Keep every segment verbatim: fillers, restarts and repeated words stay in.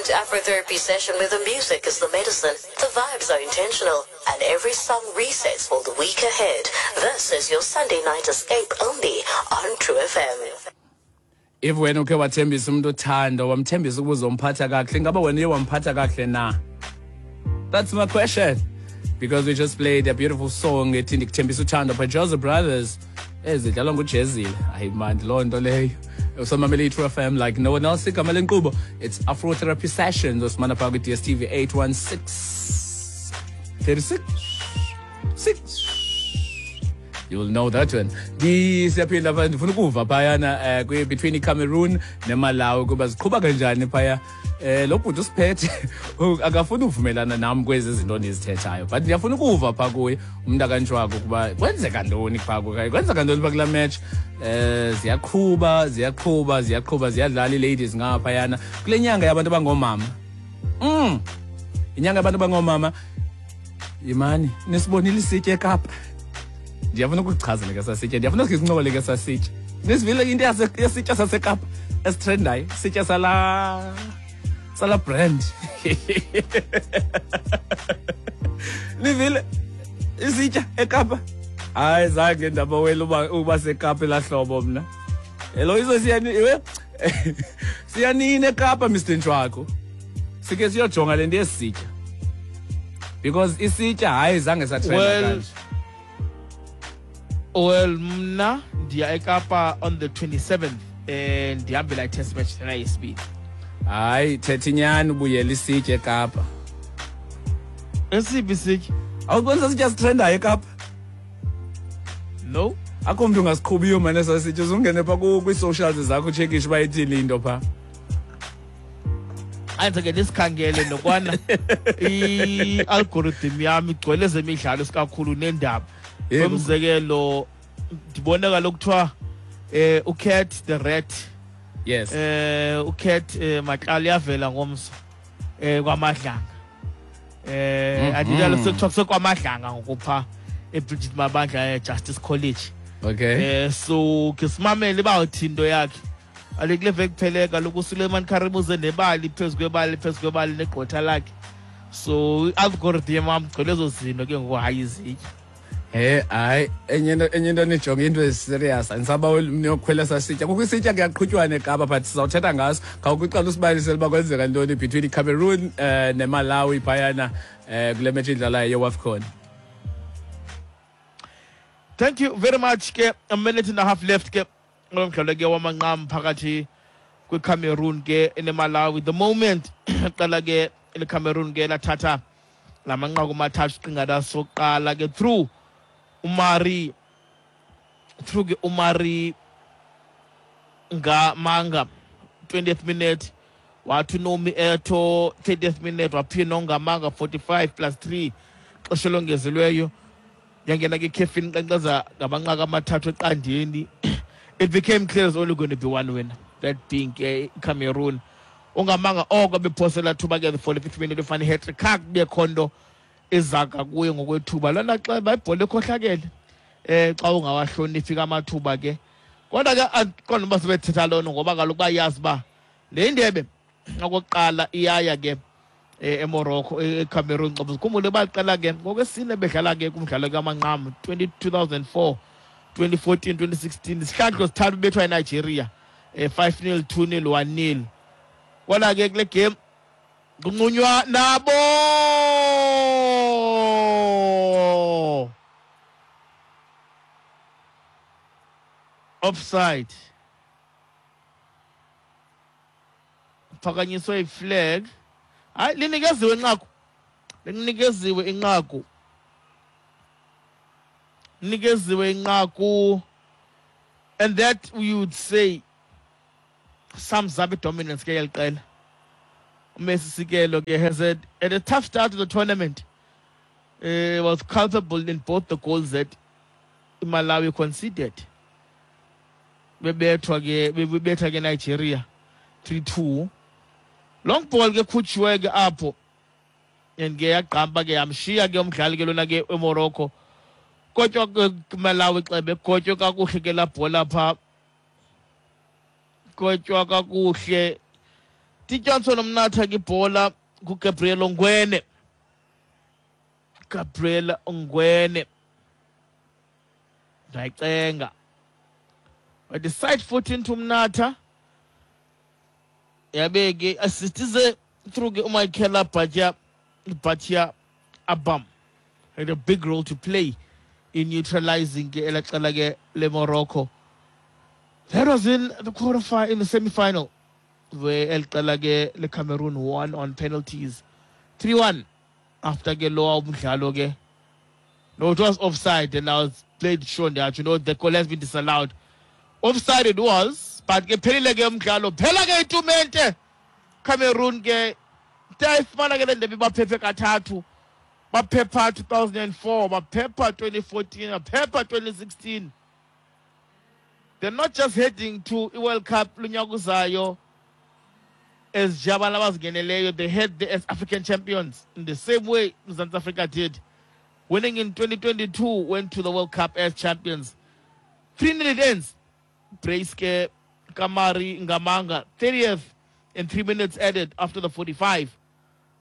to Afrotherapy Session, where the music is the medicine, the vibes are intentional, and every song resets for the week ahead. This is your Sunday night escape only on True F M. If wena ukhe wathembisa umuntu othando, wamthembisa ukuzomphatha kakuhle, ingaba wena uye wamphatha kakuhle na? That's my question. Because we just played a beautiful song ethi Ndikuthembisa Uthando by Joseph Brothers. Ezidlalwa nguJezile. Hayi man, loo nto leyo. Usamamele i-True F M like no one else. Igama lenkqubo, it's Afrotherapy Sessions. Osimana phaa kwi-D S T V eight one six thirty-six six. You will know that one. Ndisiyaphinda pha, ndifuna ukuva phayana, eh, kwi between iCameroon neMalawi kuba ziqhuba kanjani phaya. Eh, lo bhuti usiphethe akafuni uvumelana nam kwezi zinto ndizithethayo, but ndiyafuna ukuva pha kuye umntu akantshwako ukuba kwenzeka ntoni pha kuye, kwenzeka ntoni pha kulaa match. Eh, ziyaqhuba, ziyaqhuba, ziyaqhuba, ziyadlala ii-ladies ngaphayana kule nyanga yabantu abangoomama. Mm. Inyanga yabantu abangoomama. Yimani, nisibonile isitya eKapa. Ndiyafuna ukuchazela ke sasitya, ndiyafuna sikhe sincokole ke sasitya. Nisivile into yasitya saseKapa esitrendayo, sitya sala sala brand. Nivile isitya eKapa. Hayi zange ndabawela uba uba seKapa elahlobo mna. Hello izo siyani iwe siyanini eKapa Mister Ntshwako. Sike siyojonga le nto yesitya. Because isitya hayi zange satrenda kanje. Well, mna ndiya eKapa on the twenty-seventh and ndihambela i-test match lena yesibini. Hayi thetha inyani ubuyela isitya eKapa. Esiphi isitya? Awuboni sasitya sitrendayo eKapa? No. Akho mntu ungasiqhubiyo mane sasitya, uzungene pha kwii-socials zakho utshekishe uba ithini into pha. Anze ke ndisikhangele nokwana i-algorithm yam igcwele ezemidlalo isikakhulu neendaba. Umzekelo ndibona kaloku kuthiwa eh uCat the Rat. Yes. Eh uCat Matlala yavela ngomso eh kwaMadlanga. Eh andidalo sekuthiwa kusekwaMadlanga ngokupha eBridget Mabandla eJustice College. Okay. Eh so ke simamele bawuthi into yakhe. Alekule veki kuphele kaloku uSuleiman Karim uze nebali phezu kwebali phezu kwebali negqwetha lakhe. So i-algorithm yam gcwele ezo zinto ke ngoku hayi izitya. Eh hayi enye into enye into nijonge into eserious andisabaweli niyokhwela sasitya. Kukho isitya kuyaqhutywana eKapa but sizawuthetha ngaso. Khawukuqala usibalisele uba kwenzeka ntoni between iCameroon eh neMalawi phayana eh kule match idlalayo yeWAFCON. Thank you very much ke. A minute and a half left ke. Ngomdlalo ke wamanqam phakathi kweCameroon ke neMalawi. The moment qala ke iCameroon ke lathatha lamanqaku amathathu qingada soqala ke through Umari through ke Umari Ngamanga twentieth minute wathi Nomi Eto thirtieth minute waphinda Ngamanga forty-five plus three xesha longezelweyo yangena ke Kevin nqenqeza ngamanqaku amathathu eqandeni. It became clear there's only going to be one winner, that being uh, Cameroon. Ungamanga oko bephosela thuba ke the forty-fifth minute ufane hat-trick kube khondo ezaka kuye ngokwethuba lona xa bayibhola ekhohlakele eh xa ungawahloniphi amathuba ke kodwa ke aqonda uba sebethetha lona ngoba kaloku bayazi ba le ndebe okokuqala iyaya ke eMorocco eCameroon. Ngoba sikhumbule baqala ke ngokwesine bedlala ke kumdlalo kamanqamu two thousand four, twenty fourteen, twenty sixteen isihlandlo sithathu bethwa eNigeria eh five nil, two nil, one nil. Kodwa ke kule game kunqunywa nabo offside phakanyiswe iflag. Hayi linikeziwe inqaku, linikeziwe inqaku, linikeziwe inqaku, and that we would say sums up dominance ke yeliqela. Messi Sikelo ke has had, had a tough start to the tournament. Uh, was culpable in both the goals that Malawi conceded. Bebethwa ke bebetha ke Nigeria three two. Long ball ke khutshiwe ke apho and ke yaqamba ke yamshiya ke umdlali ke lona ke eMorocco. Kodwa ke Malawi xebe gotywe kakuhle ke la bhola pha. Gotywa kakuhle Johnson umnatha ke ibhola kuGabriel Ongwene. Gabriel Ongwene. Ndayicenga. But the side foot into Mnatha. Yabe ke assist ize through ke uMichael Batia Batia Abam. Had a big role to play in neutralizing ke elaqela ke le Morocco. That was in the quarterfinal, in the semi-final, where El qela ke le Cameroon won on penalties, three one after ke lo umdlalo ke. No, it was offside, and I was played shown that you know the goal has been disallowed. Offside it was, but ke phelile ke umdlalo. Phela ke itumente. Cameroon ke tayifumana ke le ndebe, baphephe kathathu. Baphepha two thousand four, baphepha twenty fourteen, baphepha twenty sixteen. They're not just heading to i-World Cup lunyaka uzayo as nje abantu abazingeneleyo, they head there as African champions in the same way South Africa did. Winning in twenty twenty-two, went to the World Cup as champions. three nil it ends. Brace ke Kamari Ngamanga, thirtieth and three minutes added after the forty-five.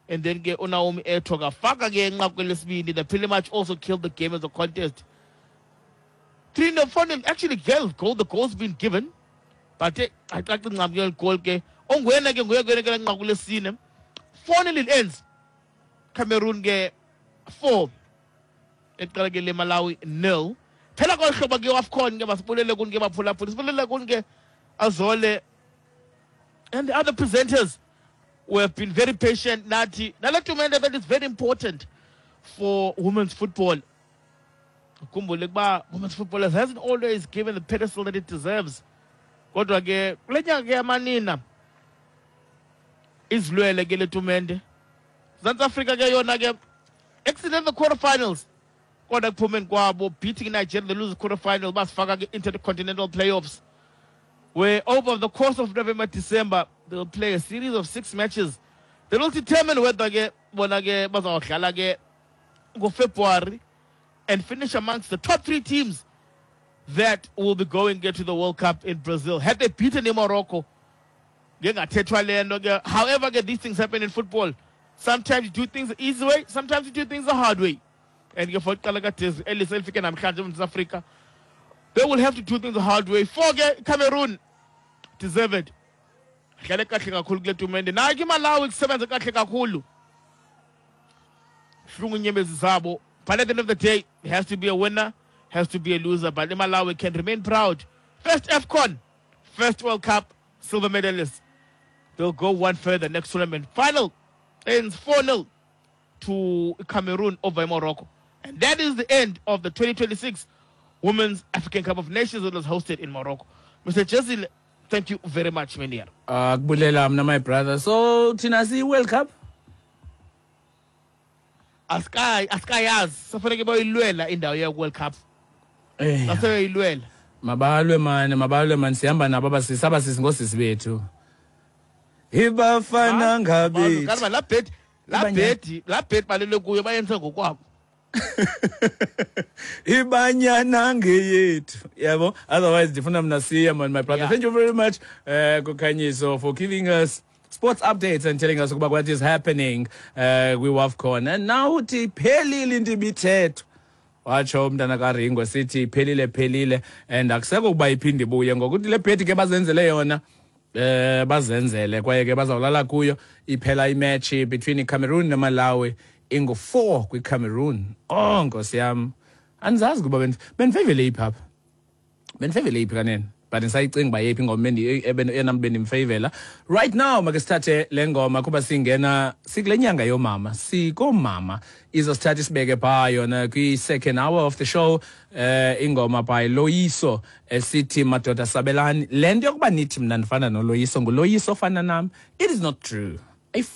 And then ke uNaomi Eto kafaka ke inqaku lesibini. They pretty much also killed the game as a contest. three nil, four nil. Actually, goal, goal, the goal's been given. But eh, ayicaci ncam ke goal ke. Ongwena ke nguye ke nqaku lesine. four nil it ends. Cameroon ke four. Eqala ke le Malawi nil. Phela kolu hlobo ke AFCON ke, masibulele kuni ke baphulaphula. Sibulele kuni ke Azole and the other presenters who have been very patient nathi. Nale tumente that is very important for women's football. Khumbule ukuba women's football hasn't always given the pedestal that it deserves. Kodwa ke kule nyaka ke yamanina izilwele ke le tumente. South Africa ke yona ke exited the quarterfinals. Kodwa ekuphumeni kwabo, beating Nigeria, they lose the quarterfinal, basifaka ke intercontinental playoffs, where over the course of November, December, they'll play a series of six matches that will determine whether ke bona ke bazawudlala ke ngoFebruary and finish amongst the top three teams that will be going get to the World Cup in Brazil. Had they beaten in Morocco, ngengathethwa le nto ke. However, ke these things happen in football. Sometimes you do things the easy way, sometimes you do things the hard way. And ke for iqela kaDesiree Ellis elifike namhlanje eMzantsi Afrika, they will have to do things the hard way. For ke Cameroon deserve it. Dlale kahle kakhulu kule tumente. Nayo ke Malawi kusebenza kahle kakhulu. Hlungu inyembezi zabo. But at the end of the day, it has to be a winner, has to be a loser. But Malawi can remain proud. First AFCON, first World Cup, silver medalist. They'll go one further next tournament. Final ends four nil to Cameroon over Morocco. And that is the end of the twenty twenty-six Women's African Cup of Nations that was hosted in Morocco. Mister Jezile, thank you very much, Menier. Uh, kubulela mna, my brother. So thina siyi World Cup? Asikayi, asikayazi, safanele bayilwela indawo ye World Cup. Eh. Basebeyilwela. Mabalwe mani, mabalwe mani, sihamba nabo abasisi, abasisi ngosisi bethu. Ibafana ngabe. Kanti la bed la Ibanyana. bed la bed balele kuyo bayenze ngokwabo. Ibanyana ngeyethu. Yabo. Otherwise ndifuna mna siye man, my brother. Yeah. Thank you very much uh Kukhanyiso for giving us sports updates and telling us ukuba what is happening uh kwi-WAFCON. And now uthi iphelile into ibithethwa. Watsho umntana kaRingo sithi iphelile, phelile, and akusekho ukuba iphinde ibuye ngokuthi le bhedi ke bazenzele yona, eh bazenzele, kwaye ke bazawulala kuyo. Iphela imatch between iCameroon neMalawi ingu-four kwiCameroon. Oh nkosi yam, andizazi kuba bendifeyivele iphi apha, bendifeyivele iphi kanene, but ndisayicinga uba yeyiphi ingoma enam bendimfeyivela. Right now make sithathe le ngoma kuba singena sikule nyanga yoomama, sikoomama, izosithatha isibeke phaa yona kwi-second hour of the show, eh ingoma by Loyiso esithi "Madoda Sabelani". Le nto yokuba nithi mna ndifana noLoyiso, nguLoyiso ofana nam, it is not true. Ayifani.